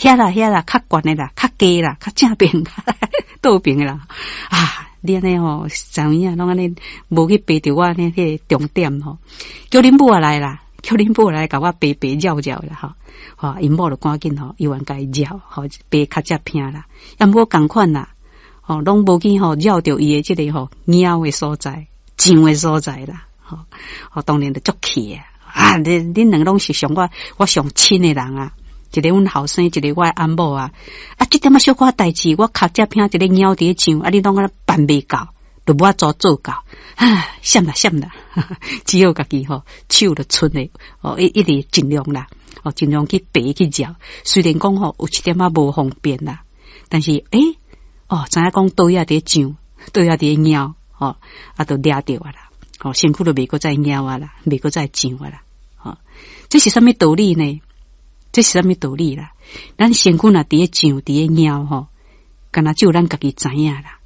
遐啦遐啦，較懸的啦，較低啦，較正邊，倒邊的啦。啊，你按呢吼，知影攏按呢無去爬著我按呢彼個重點吼，叫恁母也來啦，叫恁母來共我爬爬繞繞啦吼。吼，𪜶某就趕緊吼，猶原共伊繞，吼爬較正偏啦。啊，毋過仝款啦，吼，攏無去吼繞著伊的這個吼貓的所在，上的所在啦，吼，吼當然就足氣啊！啊，恁兩個攏是上我我上親的人啊，一個阮後生，一個我的翁某啊。啊，這點仔小可代誌，我跤這偏一个貓佇咧上，啊，你攏按呢辦袂到，就無法度做到，啊，閃啦閃啦，只好家己吼手就伸的，哦，一直盡量啦，哦，盡量去爬去繞。雖然講吼有一點仔無方便啦，但是欸，哦，知影講佗位佇咧上，佗位佇咧貓，吼，啊，就掠著啊啦，吼，身軀就袂閣再貓啊啦，袂閣再上啊啦，吼，這是啥物道理呢？這是啥物道理啦？咱身軀若佇咧上，佇咧貓吼，敢若只有咱家己知影啦。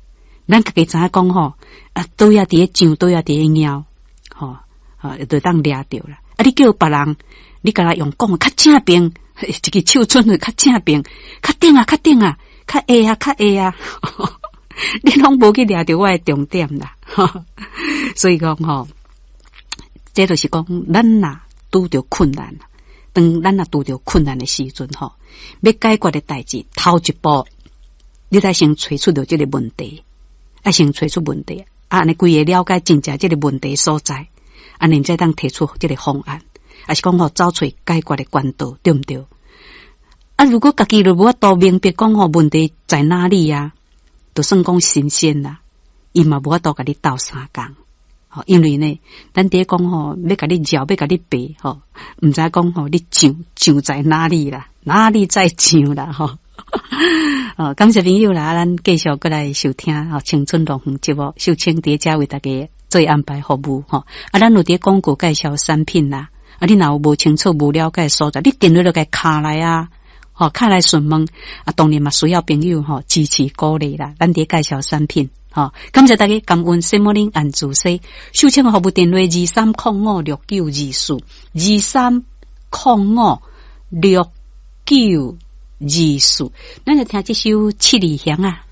咱家己知影講吼，啊，佗位佇咧上，佗位佇咧貓，吼，啊，就當掠著啦。啊，你叫別人，你共伊用講較正邊，一支手伸去較正邊，較頂啊，較頂啊，較下啊，較下啊，你攏無去掠著我的重點啦。所以講吼，這就是講，咱若拄著困難，當咱若拄著困難的時陣吼，欲解決的代誌，頭一步，你得先揣出著這个問題，愛先揣出問題，啊，按呢規个了解真正這个問題所在，按呢才當提出這个方案，抑是講吼走揣解決的管道，對毋對？啊，如果家己都無法度明白講吼問題在哪裡啊，就算講神仙啦，伊嘛無法度共你鬥相共。吼，因為呢，咱佇咧講吼，欲共你繞，欲共你爬，吼，毋知講吼，你上上在哪裡啦？哪裡在上啦？吼，哦，感謝朋友啦，咱繼續閣來收聽吼青春樂園節目，秀清佇遮為大家做安排服務吼。啊，咱有佇廣告介紹產品啦，啊，你若有無清楚、無了解所在，你電話就共敲來啊，吼，敲來詢問。啊，當然嘛需要朋友吼支持鼓勵啦，咱佇介紹產品。吼，感謝大家感恩聖母林安主西，秀清服務電話23056924，23056924。咱來聽這首七里香啊。